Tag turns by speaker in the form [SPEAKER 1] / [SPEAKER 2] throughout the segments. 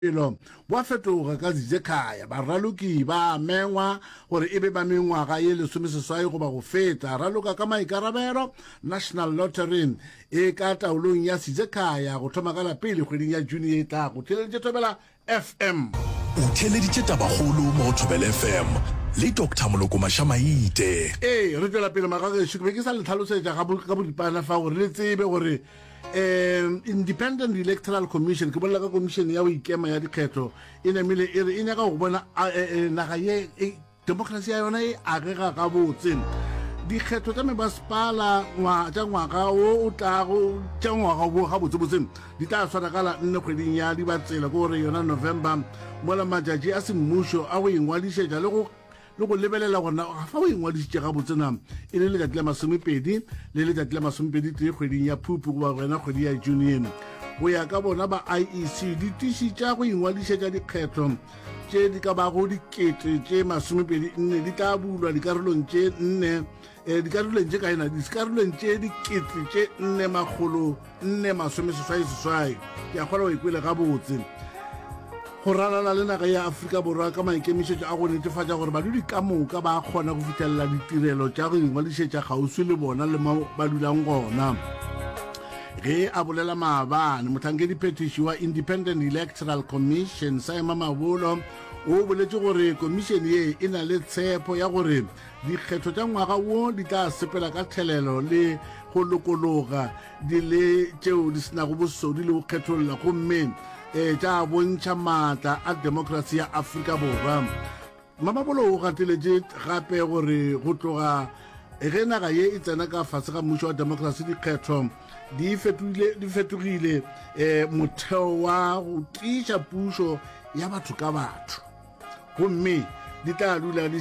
[SPEAKER 1] Bophelo bo a fetoga ka Zizekhaya. Baraloki ba a mengwa gore e be ba mengwaga ye lesomeseswai goba go feta. Raloka ka maikarabelo. National Lottery e ka taolong ya Sizekhaya go thoma ka la pele kgweding ya June ye e tlago. Theeleditše Thobela FM.
[SPEAKER 2] O theeleditše Tabakgolo mo go Thobela FM le Doctor Moloko Mašamaite.
[SPEAKER 1] Ee, re tšwela pele magagešo. Ke be ke sa le hlalosetša ka boripana fa gore le tsebe gore Um Independent Electoral Commission, ke bolela ka komišene ya go ikema ya dikgetho, e namile e re e nyaka go bona e, e, naga ye e, demokrasi ya yona e agega gabotse. Dikgetho tša mebasepala tša ngwaga wo o tlago tša ngwaga wo gabotsebotse di tla swarakala nne kgweding ya Dibatsela, ke gore yona November, mola matšatši a semmušo a go ingwadišetša le go le go lebelela gore na fa o ingwadišitše gabotse na e le letšatši la masomepedi le letšatši la masomepedi tee kgweding ya phupu goba gona kgwedi ya june go ya ka bona ba iec ditiši tša go ingwadišetša dikgetho tše di ka bago dikete tše masomepedi nne di tla bulwa dikarolong tše nne um dikarolong tše kaena dikarolong tše dikete tše nne makgolo nne masomeseswai seswai ke a kgona go ikwele gabotse go ralala le naga ya Afrika Borwa ka maikemišetšo a go netefatša gore badudi ka moka ba kgona go fihlelela ditirelo tša go ingwadišetša kgauswi le bona le mo ba dulang gona. Ge a bolela maabane, mohlankedi-phethiši wa Independent Electoral Commission, Saima Mabolo, o boletše gore komišene ye e na le tshepo ya gore Dikgetho tša ngwaga wo di tla sepela ka thelelo le go lokologa, di le tšeo di se nago bosodi le go kgetholla gomme eh, tša bontšha maatla a demokrasi ya Afrika Borwa. Mamabolo o gateletše gape gore go tloga ge naga ye e tsena ka fase ga mmušo wa demokrasi dikgetho di fetogile, di fetogile eh, motheo wa go tiiša pušo ya batho ka batho. gomme di tla dula di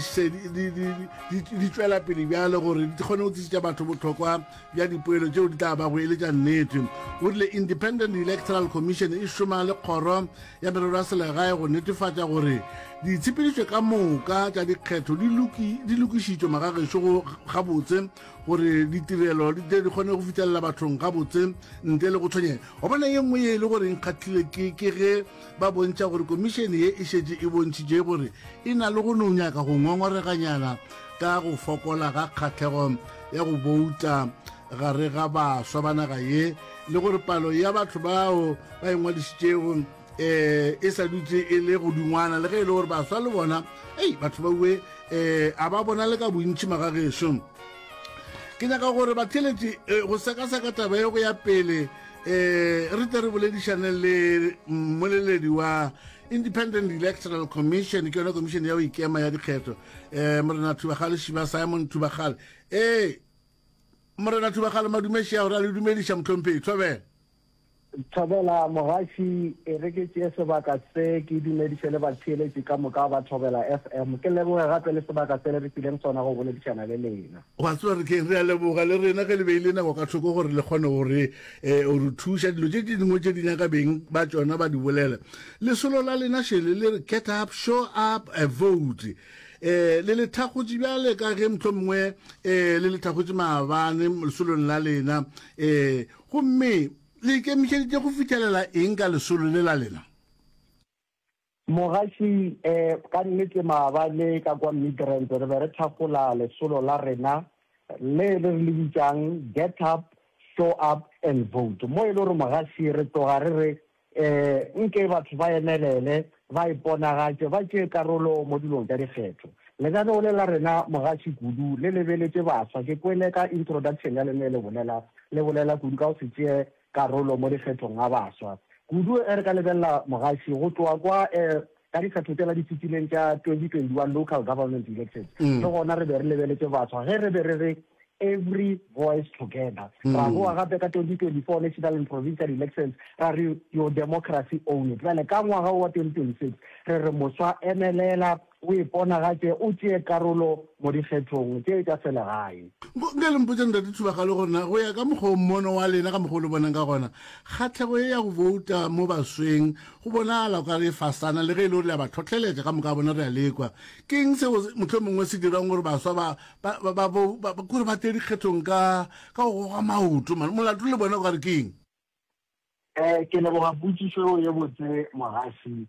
[SPEAKER 1] di tšwela pele bjale gore di kgone go tlišetša batho bohlokwa bja dipoelo tšeo di tla bago e le tša nnete. O rile Independent Electoral Commission e šoma le kgoro ya merero ya selegae go netefatša gore ditshepedišo ka moka tša dikgetho di lokišitšwe magagešo go gabotse gore ditirelo di tle di kgone go fihlelela bathong gabotse ntle le go tshwenyega. Wa bona ye nngwe ye e le gore e nkgahlile ke ke ge Ba bontšha gore komišene ye e šetše e bontšhitše gore e na le go no nyaka go ngongoreganyana ka go fokola ga kgahlego ya go bouta gare ga baswa ba naga ye le gore palo ya batho bao ba ingwadišitšego um e sa dutše e le godingwana le ge e le gore baswa le bona ei batho ba ue um a ba bona le ka bontši magagešo. Ke nyaka gore batheeletši eh, go sekaseka taba ye go ya pele eh re tle re boledišane le mmoleledi wa Independent Electoral Commission ke yona commission ya go ikema ya dikgetho eh morena Thubagale Shiba Simon Thubagale eh morena Thubagale madumeši a gore a le dumediša mohlomphegi thobela
[SPEAKER 3] Thobela mogaši, e re ke tšee sebaka se ke dumediše le batheeletši ka moka ba Thobela FM. Ke leboge gape le sebaka se le re fileng sona go boledišana le lena.
[SPEAKER 1] Wa tseba re keng, re a leboga le rena ge le beile nako ka thoko gore le kgone go re eh, go re thuša dilo tše dingwe tše di nyaka beng ba tšona ba di bolela. Lesolo la lena šele le re get up, show up, a vote. Eh, le le thakgotše bjale ka ge mohlomongwe eh, le le thakgotše maabane lesolong la lena eh, gomme le ikemišeditše go fihlelela eng ka lesolo le la lena?
[SPEAKER 3] Mogaši, eh, ka nnete maabane ka kwa Midrand re be re thakgola lesolo la rena le le re le bitšang Get Up, Show Up and Vote. Mo e le gore mogaši re tloga re re eh, nke batho ba emelele, ba iponagatše, ba tšee karolo mo dilong tša dikgetho. Lenaneo le la rena mogaši kudu le lebeletše baswa. Ke kwele ka introduction ya lena e le bolela, le bolela kudu ka go se tšee karolo mo dikgethong ga baswa. Kudu ge re ka lebelela mogaši go tloga kwa ka dikgetho tšela di fetileng tša 2021 local government elections, le gona re be re lebeletše baswa ge re be re re every voice together. Ra boa gape ka 2024 national and provincial elections ra re your democracy own it. Bjale ka ngwaga wo wa 2026 re re moswa emelela o iponagatše o tšee karolo mo dikgethong tše tša selegae.
[SPEAKER 1] Nke le mpotše Ntate Thubagale gore na go ya ka mokgwa o mmono wa lena ka mokgwa o le bonang ka gona, kgahlego ye ya go bouta mo basweng go bonagala o ka re e fasana le ge e le gore le a ba hlohleletša ka moka ga bona re a lekwa. Ke eng seo mohlomongwe se dirang gore baswa ba, ba, ba, ba, ba, ba, kore ba tle dikgethong ka, ka go goga maoto man? Molato le bona o ka re ke eng?
[SPEAKER 3] Eh, ke leboga potšišo ye botse, mogaši.